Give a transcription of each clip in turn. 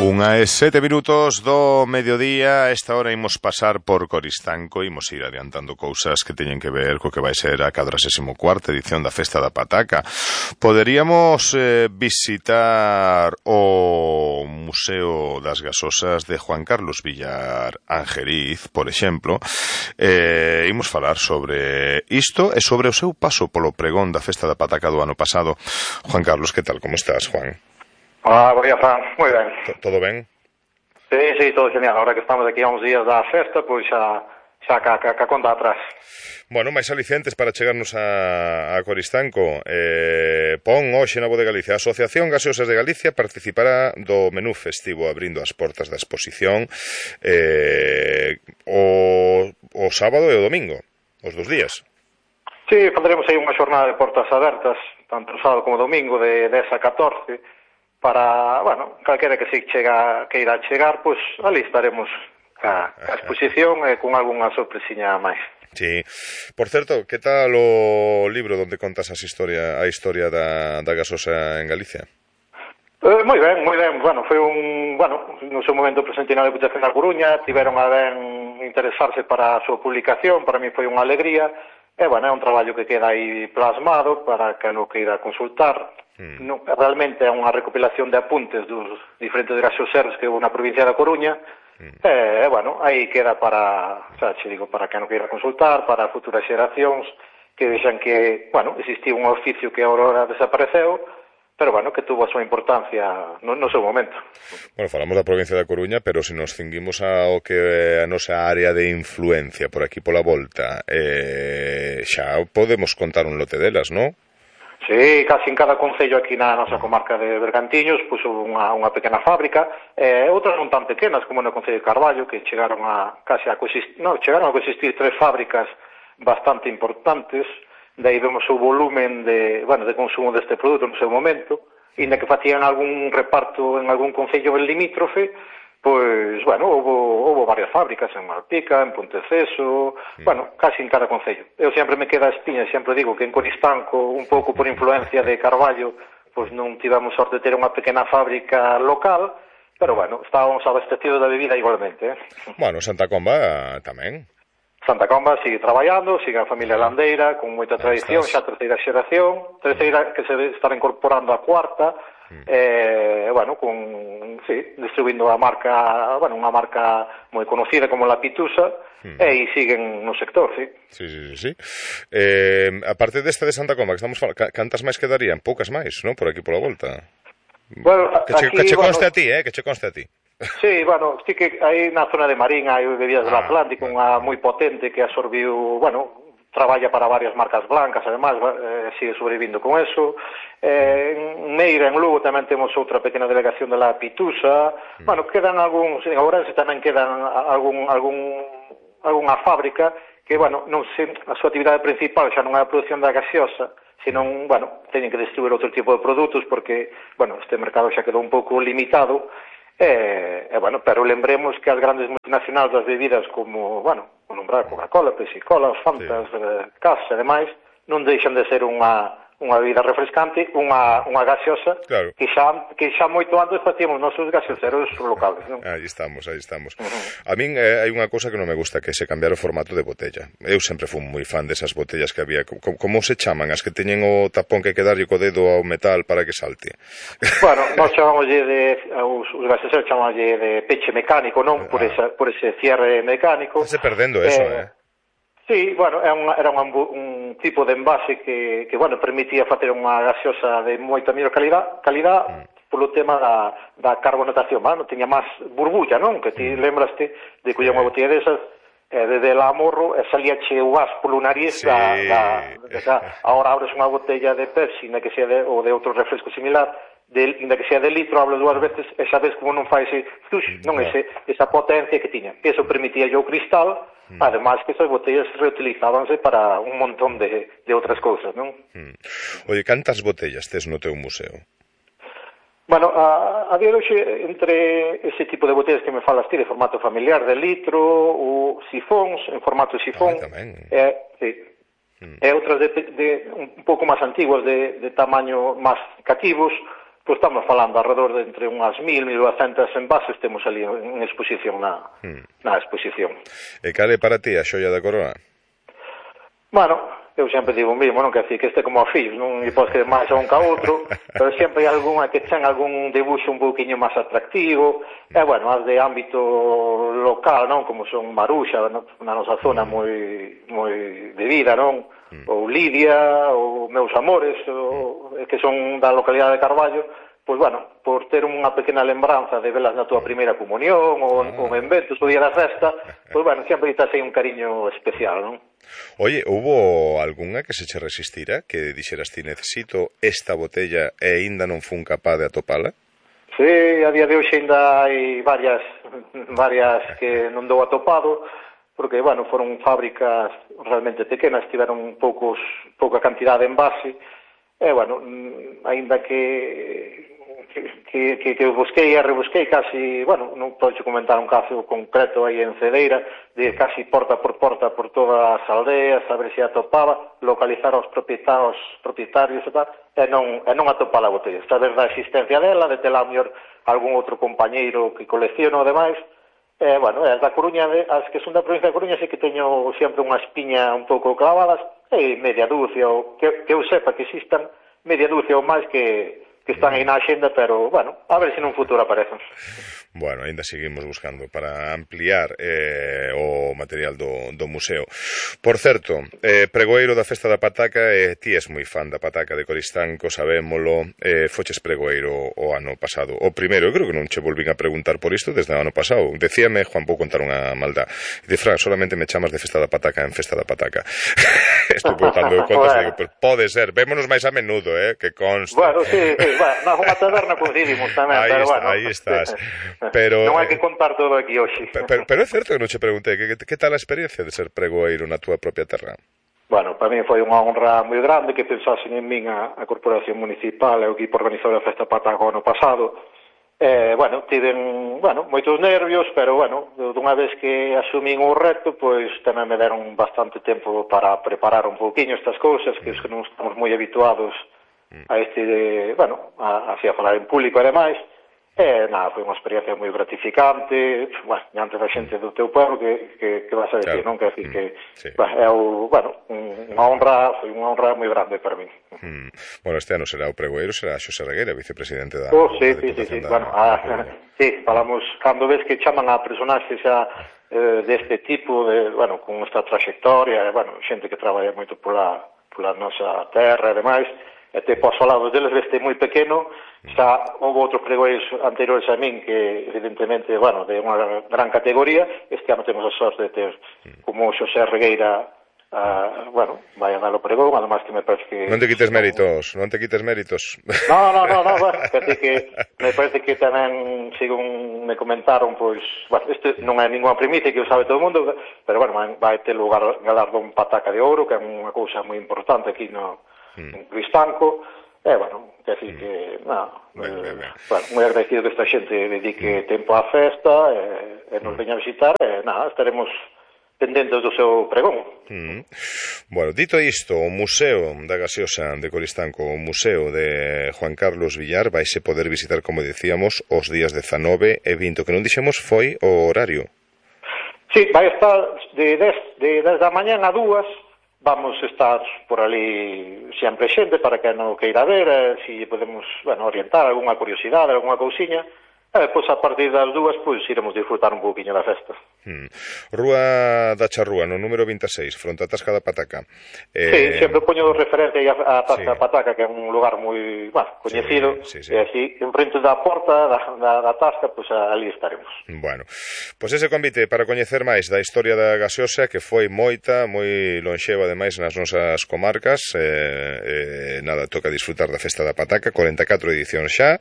1:07 do mediodía. A esta hora imos pasar por Coristanco, imos ir adiantando cousas que teñen que ver co que vai ser a 44ª edición da Festa da Pataca. Poderíamos visitar o Museo das Gasosas de Juan Carlos Villar Angeriz, por exemplo. Imos falar sobre isto e sobre o seu paso polo pregón da Festa da Pataca do ano pasado. Juan Carlos, que tal? Como estás, Juan? Hola, buen día, Fran. Moi ben. Todo ben? Sí, todo genial. Ahora que estamos aquí a uns días da festa, pois xa ca conta atrás. Bueno, máis alicientes para chegarnos a Coristanco. Pon hoxe na Voz de Galicia. A Asociación Gaseosas de Galicia participará do menú festivo abrindo as portas da exposición o sábado e o domingo, os dos días. Sí, falaremos aí unha xornada de portas abertas, tanto sábado como domingo, de 10 a 14, para, bueno, calquera que se queira chegar, pois ali estaremos a exposición e con algunha sorpresiña máis. Sí. Por certo, que tal o libro onde contas a historia da gasosa en Galicia? Moi ben. Bueno, foi no seu momento presente na Deputación da Coruña, tiveron a ben interesarse para a súa publicación, para mí foi unha alegría. É un traballo que queda aí plasmado para que lo queira consultar. Realmente é unha recopilación de apuntes dos diferentes gasoseros que houve na provincia da Coruña. Aí queda para que non queira consultar, para futuras xeracións que vexan que, existía un oficio que agora desapareceu, pero que tuvo a súa importancia no seu momento. Bueno, falamos da provincia da Coruña, pero se nos cinguimos ao que é a nosa área de influencia por aquí pola volta, xa podemos contar un lote delas, non? Sí, casi en cada concello aquí na nosa comarca de Bergantiños puso unha pequena fábrica, outras non tan pequenas como no concello de Carballo, que chegaron a coexistir 3 fábricas bastante importantes. De aí vemos o volumen de consumo deste produto no seu momento, e na que facían algún reparto en algún concello limítrofe, pois, houve varias fábricas en Malpica, en Ponteceso, casi en cada concello. Eu sempre me queda a espiña, sempre digo que en Coristanco, un pouco por influencia de Carballo, pois non tivemos sorte de ter unha pequena fábrica local, pero estábamos abastecidos da bebida igualmente. Bueno, Santa Comba tamén. Santa Comba sigue traballando, sigue a familia landeira, con moita tradición, xa terceira xeración, que se estará incorporando a cuarta, distribuindo a marca, unha marca moi conocida como La Pitusa, e siguen no sector, sí. Sí. Aparte desta de Santa Comba que estamos falando, cantas máis quedarían? Poucas máis, non? Por aquí pola volta. Que che conste a ti, que che conste a ti. Sí, sí que aí na zona de Marín hai bebidas do Atlántico, unha moi potente que absorbiu, traballa para varias marcas blancas, además, sigue sobrevivindo con eso. En Meira, en Lugo, tamén temos outra pequena delegación de La Pitusa. Quedan algúns, en Ourense tamén quedan algunha fábrica que, non sei, a súa actividade principal xa non é a produción da gaseosa, senón, teñen que distribuir outro tipo de produtos porque, este mercado xa quedou un pouco limitado. Pero lembremos que as grandes multinacionais das bebidas como, nombrar Coca-Cola, Pepsi-Cola, Fantas, Cas e demais, non deixan de ser unha bebida refrescante, unha gaseosa, claro, que xa moito antes facíamos nosos gaseoseros locales, non? Aí estamos. A min hai unha cousa que non me gusta, que se cambiar o formato de botella. Eu sempre fui moi fan desas botellas que había. Como se chaman? As que teñen o tapón que hai que darlle co dedo ao metal para que salte? Nós chamámoslle os gaseoseros chamámoslle de peche mecánico, non? Por ese cierre mecánico. Estás perdendo eso, Sí, era un tipo de envase que permitía facer unha gaseosa de moita mellor calidad polo tema da carbonatación, non tiña máis burbulla, non? Que ti lembraste de coller unha botella desas, desde la amorro, e salíache o gas polo nariz ahora abres unha botella de Pepsi, ou de outro refresco similar, inda que sea de litro, hablo 2 veces e xa ves como non fai esa potencia que tiña. Eso permitía o cristal, además que esas botellas reutilizábanse para un montón de outras cousas, non? Oye, cantas botellas tes no teu museo? A día de hoxe, entre ese tipo de botellas que me falas ti, de formato familiar, de litro, ou sifóns, en formato sifón, e outras un pouco máis antiguas, de tamaño máis cativos, Pois estamos falando alrededor de entre unhas 1.000, 1.200 envases temos ali en exposición na exposición. E cal é para ti a xoia da coroa? Bueno, eu sempre digo o mesmo, non quer decir que este como a fillos, non lle podes querer máis a un que a outro, pero sempre hai algunha que ten algún debuxo un pouquiño máis atractivo, e bueno, as de ámbito local, non, como son Maruxa, na nosa zona moi de vida, non, ou Lidia, ou Meus Amores, que son da localidade de Carballo, pois bueno, por ter unha pequena lembranza de velas na túa primeira comunión, ou en eventos, o día da festa, pois bueno, sempre estás aí un cariño especial, non? Oye, hubo algunha que se che resistira, que dixeras ti necesito esta botella e aínda non fun capaz de atopala? Sí, a día de hoxe ainda hai varias que non dou atopado, porque, bueno, foron fábricas realmente pequenas, tiveron pouca cantidade de envase, e, bueno, aínda que busquei e rebusquei casi, bueno, non podo comentar un caso concreto aí en Cedeira, de casi porta por todas as aldeas, a ver se atopaba, localizar aos propietarios e tal, e non atopar a botella. Saber da existencia dela, de tela mellor algún outro compañeiro que colecciono e demais. Bueno, as da Coruña, as que son da provincia da Coruña, sí que teño sempre unha espiña un pouco clavadas, e media dúcia, ou que eu sepa que existan media dúcia ou máis que están aí na axenda, pero, bueno, a ver se nun futuro aparecen. Bueno, ainda seguimos buscando para ampliar o material do museo. Por certo, pregoeiro da Festa da Pataca, ti és moi fan da pataca de Coristanco, sabémolo, foches pregoeiro o ano pasado. O primeiro, eu creo que non che volvín a preguntar por isto desde o ano pasado. Decíame, Juan, vou contar unha maldad. Dice, Fran, solamente me chamas de Festa da Pataca en Festa da Pataca. Estou botando de contas e digo, pero pode ser, vémonos máis a menudo, que conste. Bueno, sí, na unha taberna coincidimos tamén, pero bueno. Aí estás. Pero, non hai que contar todo aquí hoxe. Pero é certo que non che preguntei que tal a experiencia de ser pregoeiro na túa propia terra? Bueno, para mí foi unha honra moi grande que pensasen en min a Corporación Municipal e o equipo organizador da Festa Pataca ano pasado. Bueno, tiven, moitos nervios, pero, bueno, dunha vez que asumín o reto, pois tamén me deron bastante tempo para preparar un pouquiño estas cousas, que non estamos moi habituados a así a falar en público e demais. Nada, foi unha experiencia moi gratificante, diante da xente do teu pueblo, que vas a decir, non? Que decir que, é unha honra, foi unha honra moi grande para mí. Bueno, este ano será o pregoeiro, será Xosé Regueira, vicepresidente da... Sí, bueno, sí, falamos, cando ves que chaman a personaxes xa deste tipo, con esta trayectoria, xente que traballa moito pola nosa terra e demais, e te posso falar deles desde moi pequeno. Xa houve outros pregoeiros anteriores a min que, evidentemente, de unha gran categoría. Este ano temos a sorte de ter como Xosé Regueira, vai a dar o pregón, además que me parece que... Non te quites méritos. No, que me parece que tamén, según me comentaron, pois, isto non é ninguna primicia que o sabe todo o mundo, pero, vai ter lugar galardón Pataca de Ouro, que é unha cousa moi importante aquí en Cristanco. Quer decir que, moi agradecido que esta xente dedique tempo á festa e nos veña a visitar, estaremos pendentes do seu pregón. Bueno, dito isto, o Museo da Gaseosa de Coristanco, o Museo de Juan Carlos Villar, vaise poder visitar, como dicíamos, os días 19 e 20. O que non dixemos foi o horario. Sí, vai estar de 10 da mañán a 2. Vamos estar por ali sempre xente para que non queira ver, se podemos, orientar algunha curiosidade, algunha cousiña, e depois a partir das 2, pois, iremos disfrutar un pouquiño da festa. Rúa da Charrúa, no número 26, fronte a Tasca da Pataca. Sí, sempre poño referencia a Tasca da Pataca, que é un lugar moi coñecido, e así, en frente da porta da Tasca, pois ali estaremos. Bueno, pois ese convite para coñecer máis da historia da gaseosa, que foi moita, moi lonxeva, ademais, nas nosas comarcas. Nada, toca disfrutar da Festa da Pataca, 44 edicións xa.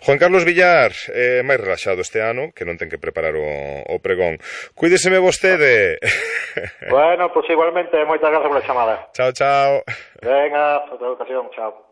Juan Carlos Villar, máis relaxado este ano, que non ten que preparar o pregón. Cuídeseme vostede. Bueno, pois igualmente, moitas grazas pola chamada. Chao, chao. Venga, outra ocasión, chao.